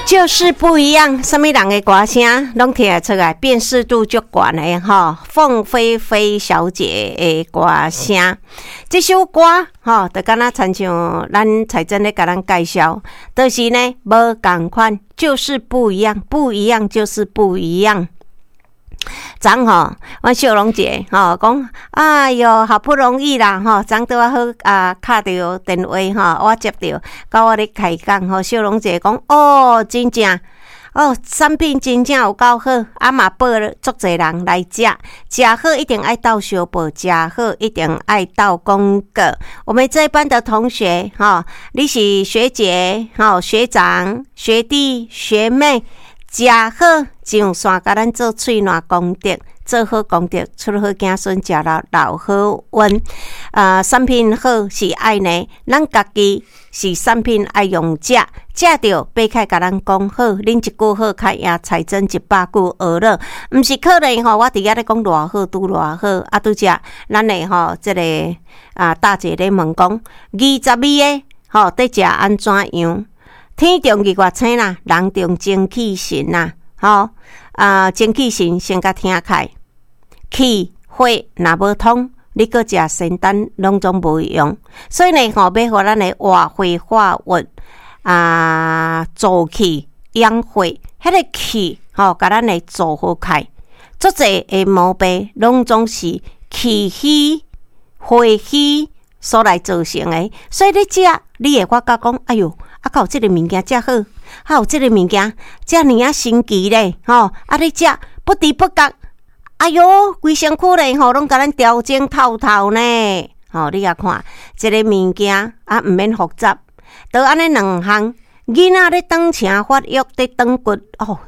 就是不一樣，啥物人的歌聲攏聽會出來，辨識度足懸的吼。鳳飛飛小姐的歌聲，這首歌吼，就敢若親像咱彩珍咧共咱介紹，就是呢無仝款，就是不一樣，不一樣就是不一樣。昨吼，阮秀龍姐吼講，哎喲，好不容易啦吼，昨拄仔好啊，敲著電話吼，我接著，佮我咧開講吼，秀龍姐講，哦，真正，哦，產品真正有夠好，啊嘛報了足濟人來食，食好一定愛鬥相報，食好一定愛鬥講告。我們這班的同學吼，你是學姐吼，學長、學弟、學妹。食好上線，共咱做喙瀾功德，做好功德，出好子孫，食了老好運。啊，產品好是愛呢，咱家己是產品愛用食，食著爬起來共咱講好，恁一句好較贏財政一百句呵咾，毋是可能吼，我佇遐咧講偌好，拄偌好，啊，拄才咱的吼，這個啊大姐咧問講，22個吼，佇食按怎樣？天中日月星啦，人中精氣神啦，吼啊，精氣神先共聽開，氣血若無通，你閣食仙丹攏總無用。所以呢，吼，欲予咱的活血化瘀啊，助氣養血，彼個氣吼，共咱的組合開，足濟的毛病攏總是氣虛、血虛所來造成的。所以你食，你會發覺講，哎喲，啊，閣有這个物件遮好，啊有這个物件遮爾仔神奇咧，吼！啊，你食不知不覺，哎喲，規身軀咧吼，攏共咱調整透透呢。吼，你也看，這个物件啊，毋免複雜，就按呢兩項，囡仔咧長埕發育，咧長骨，哦，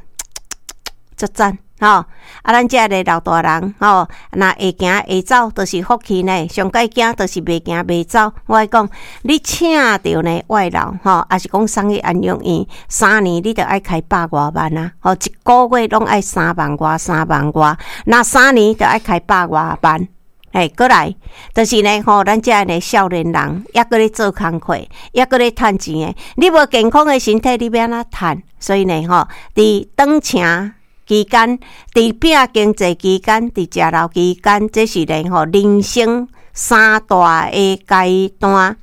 足讚。吼，啊，咱遮个老大人吼，若會行會走，就是福氣呢。上蓋驚就是袂行袂走。我愛講，你請著呢外勞吼，抑是講送去安養院，3年你著愛開百外萬啊！吼，一個月攏愛三萬外，三萬外，若三年著愛開百外萬。嘿，過來，就是呢吼，咱遮个少年人，猶閣咧做工課，猶閣咧趁錢的，你無健康的身體，你欲按怎趁？所以呢吼，佇長埕期間，佇拼經濟期間，佇食老期間，這是咧吼人生三大的階段。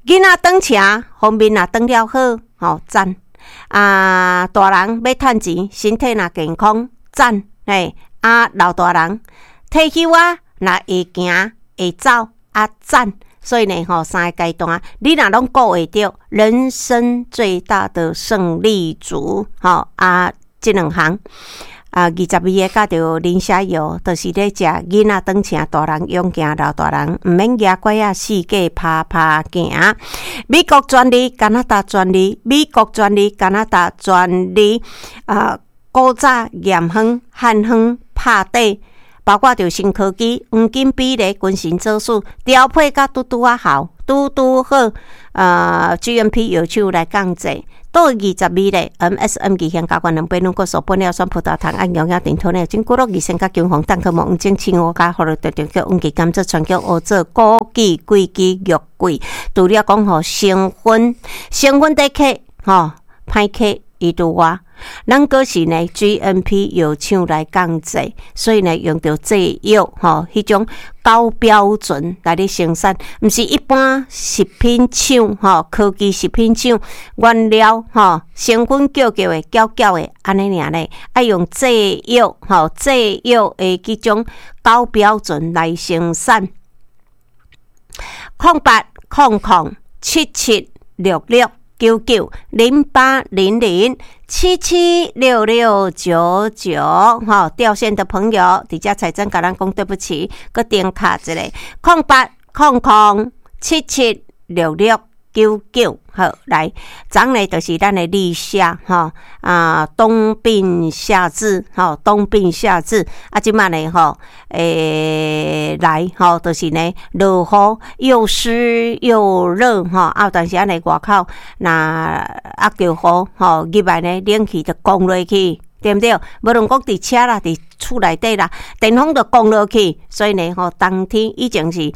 囡仔長埕方面若長了好，吼讚啊！大人欲趁錢，身體若健康，讚嘿啊！老大人退休啊，若會行會走啊，讚。所以呢，吼三个階段，你若攏顧會著，人生最大的勝利組，吼啊！這兩項啊，22个佮著磷蝦油，就是咧食囡仔長埕，大人勇健，老大人毋免舉拐仔四界趴趴行。美國專利，加拿大專利，美國專利，加拿大專利啊！古早驗方、漢方拍底，包括著新科技、黃金比例、君臣佐使調配甲拄拄仔好，拄拄好。GMP 藥廠來降製。倒22咧，MSM 二腈膠原蛋白、軟骨素、玻尿酸、葡萄糖、胺溶液、頂托尿、金骨樂、二酸甲姜黃、蛋殼膜、黃精、青烏加、葫蘆特叫黃芪、甘蔗、川芎、烏棗、枸杞、桂枝、玉桂。除了講吼成分，成分底客吼歹客伊拄外，咱閣是呢 GMP 藥廠來降製，所以呢用著製藥吼，彼種高標準來咧生產，毋是一般食品廠吼，科技食品廠原料吼成分叫叫的攪攪的按呢爾咧，愛用製藥吼製藥的彼種高標準來生產。0800776699 0800776699，吼，掉線的朋友，佇遮彩珍共咱講對不起，閣重敲一下，0800776699，好，來，昨呢就是咱的立夏，吼啊，冬病夏治，吼，冬病夏治，啊，這擺呢，吼，來，吼，就是呢，落雨又濕又熱，吼，啊，有當時仔呢外口若啊著雨，吼，入來呢冷氣就降落去，對毋對？無論講佇車啦，佇厝內底啦，電風就降落去，所以呢，吼，冬天以前是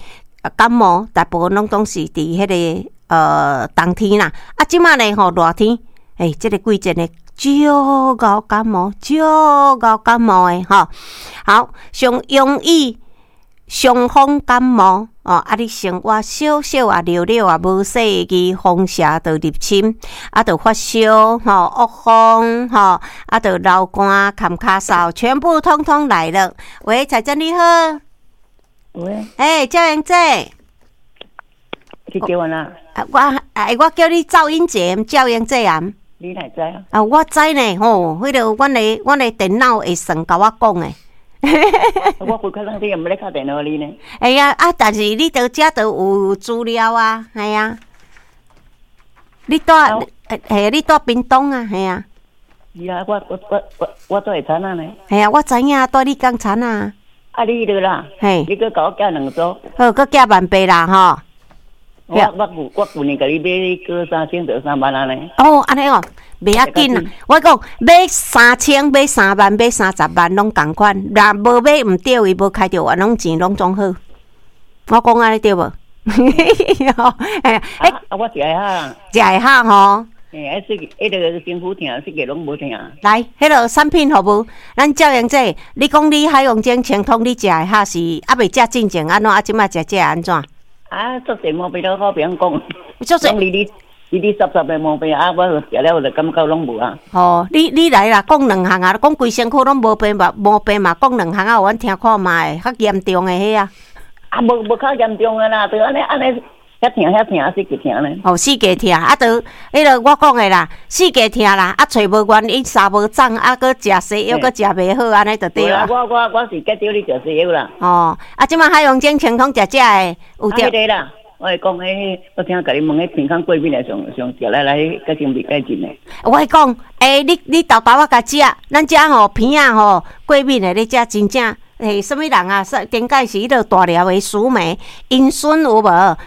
感冒，大部分攏總是佇彼個冬天啦，啊，這擺呢，吼，熱天，欸，這个季節呢，足𠢕感冒，足𠢕感冒的吼。好，上容易傷風感冒哦，啊！你生活少少啊，尿尿啊，無細意風邪就入侵，啊，就發燒吼，惡風吼，啊，就流汗、咳咳嗽，全部通通來了。喂，彩珍你好。喂。欸，趙英姐。你叫我哪？啊，我欸，我叫你趙英姐，趙英姐啊。你哪知啊？啊，我知呢，吼，彼个阮的電腦會算共我講的。我回去咱你也毋咧敲電話你呢。會啊，啊，但是你佇遮都有資料啊，係啊。你住，係你住屏東啊，係啊。是啊，我住會田仔呢。係啊，我知影，住你工田啊。啊，你著啦，嘿，你閣共我寄兩組。好，閣寄萬八啦，吼。我舊年共你買過3000著3萬按呢。哦，按呢哦，袂要緊啦。我講買三千、買3萬、買30萬攏仝款，若無買毋著，伊無開著冤枉錢攏總好。我講按呢對無？欸，啊，我食會曉。食會曉吼。欸，啊，彼个身軀疼，四个攏無疼。來，彼个產品服務，咱趙英姐，你講你海王精清湯，你食會曉是猶未食進前按怎？啊，這擺食這按怎？啊，足濟毛病都我袂曉講，足濟攏哩哩哩濕濕的毛病啊，我食了就感覺攏無啊。哦，你來啦，講兩項啊，講規身軀攏無病嘛，無病嘛，講兩項啊，阮聽看覓，較嚴重的彼啊。啊，無較嚴重的啦，就按呢按呢，遐疼遐疼，四界疼呢。哦，四界疼，啊，就彼个我講的啦，四界疼啦，啊，揣無原因，衫無長，啊，閣食西藥，閣食袂好，按呢就對啊。我是減少咧食西藥啦。哦，啊，這擺海王精清湯食這的有著。彼个啦，我會講彼，我聽共你問彼鼻孔過敏的上上食來來，較先袂改進的。我會講，欸，你沓沓仔共食，咱遮吼鼻仔吼過敏的咧食真正。欸，啥物人啊？頂擺是彼个大粒的樹莓，𪜶孫有無？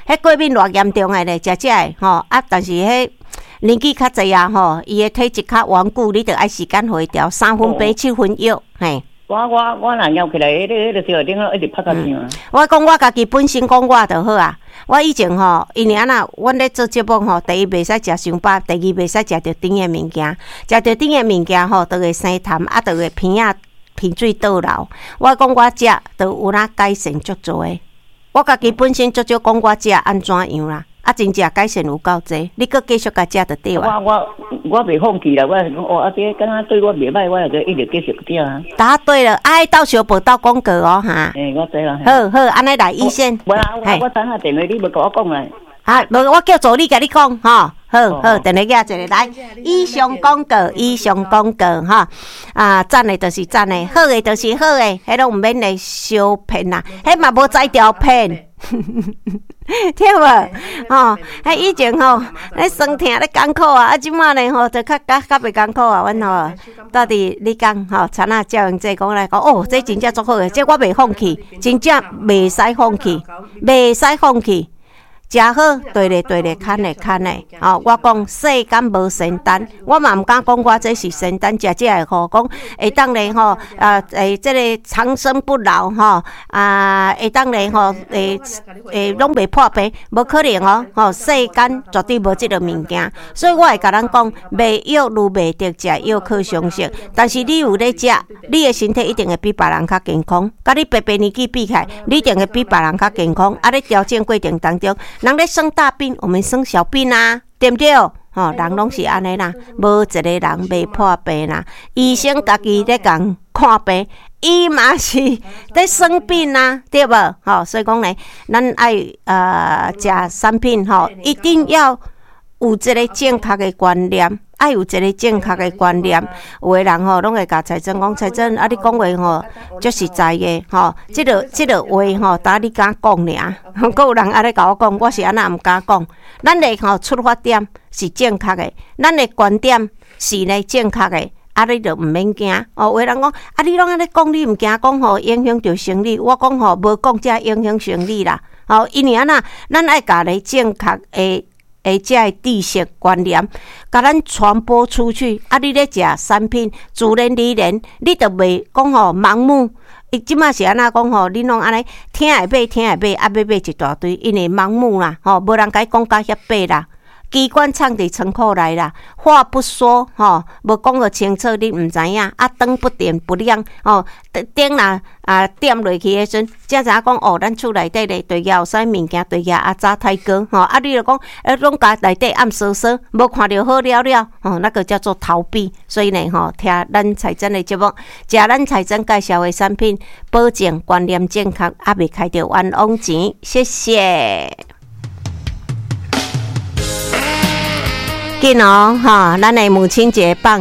彼過敏偌嚴重的咧，食這的吼啊！但是彼年紀較濟啊吼，伊的體質較頑固，你著愛時間予伊調，三分病七分藥，嘿。我若搖起來，彼个小頂一直拍甲響。我講我家己本身講我就好啊。我以前吼，因為按怎，阮咧做節目吼，第一袂使食傷飽，第二袂使食著甜的物件，食著甜的物件吼，就會生痰，啊，就會鼻仔鼻水倒流。我講我食，就有哪改善足濟的。我家己本身足少講我食按怎樣啦，啊，真正改善有夠濟。你閣繼續共食就對啊。我袂放棄啦，我是講哦，啊，這敢若對我袂歹，我就一直繼續食啊。答對了，愛鬥相報鬥廣告哦，哈。欸，我知啦。好好，按呢來醫生。無啦，我等下電話你無共我講啦。啊，無，我叫助理共你講，吼。好好，電話寄一个來。以上廣告，以上廣告，吼。啊，讚的就是讚的，好的就是好的，彼攏毋免來相騙啦，彼嘛無才調騙。對無？吼，彼以前吼，咧酸疼咧艱苦啊，啊，這擺呢吼，就較較較袂艱苦啊。阮吼，到底你講吼，田仔趙英姐講來講，哦，這真正足好的，這我袂放棄，真正袂使放棄，袂使放棄。食好，對咧對咧，牽咧牽咧，吼！我講世間無仙丹，我嘛毋敢講我這是仙丹，食這个吼，講會當咧吼，啊，會這个長生不老吼，啊，會當咧吼，會會攏袂破病，無可能哦，吼！世間絕對無這个物件，所以我會共人講，賣藥愈賣得，食藥靠相識。但是你有咧食，你的身體一定會比別人較健康。佮你白白年紀比起來，你一定會比別人較健康。啊，咧調整過程當中，人咧生大病，我們生小病啊，對毋對？吼，人攏是按呢啦，無一個人袂破病啦。醫生家己咧共看病，伊嘛是咧生病啊，對無？吼，所以講呢，咱愛食產品吼，一定要有一個正確的觀念，愛有一個正確的觀念。有的人吼，攏會共財政講，財政啊，你講話吼，足實在的吼，這个話吼，焦你敢講爾？閣有人按呢共我講，我是按怎毋敢講。咱的吼出發點是正確的，咱的觀點是呢正確的，啊，你就毋免驚。哦，有的人講，啊，你攏按呢講，你毋驚講吼影響著生理？我講吼，無講才影響生理啦。吼，因為按怎，咱愛共咧正確的。的這个知識觀念，共咱傳播出去。啊，你咧食產品，自然而然，你就袂講吼盲目。伊這擺是按怎講吼？恁攏按呢聽會買，聽會買，啊買買一大堆，因為盲目啦，吼，無人共伊講甲遐白啦。機關藏佇倉庫內啦，話不說吼，無講個清楚，你毋知影。啊，燈不點不亮吼，燈若啊點落去的時陣，才知影講哦，咱厝內底咧對有啥物件對阿早太高吼。啊，你就講攏共內底暗袷袷，無看著好了了吼，那個叫做逃避。所以呢吼，聽咱彩珍的節目，食咱彩珍介紹的產品，保證觀念正確，猶未開著冤枉錢。謝謝。緊哦，哈！咱的母親節放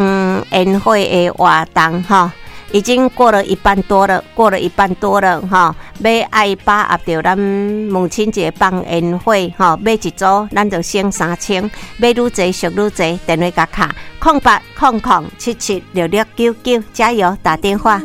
煙火的活動，哈，已經過了一半多了，過了一半多了，哈。欲愛把握著咱母親節放煙火，哈，買一組，咱就省3000，買愈濟俗愈濟，電話共敲0800776699，加油，打電話。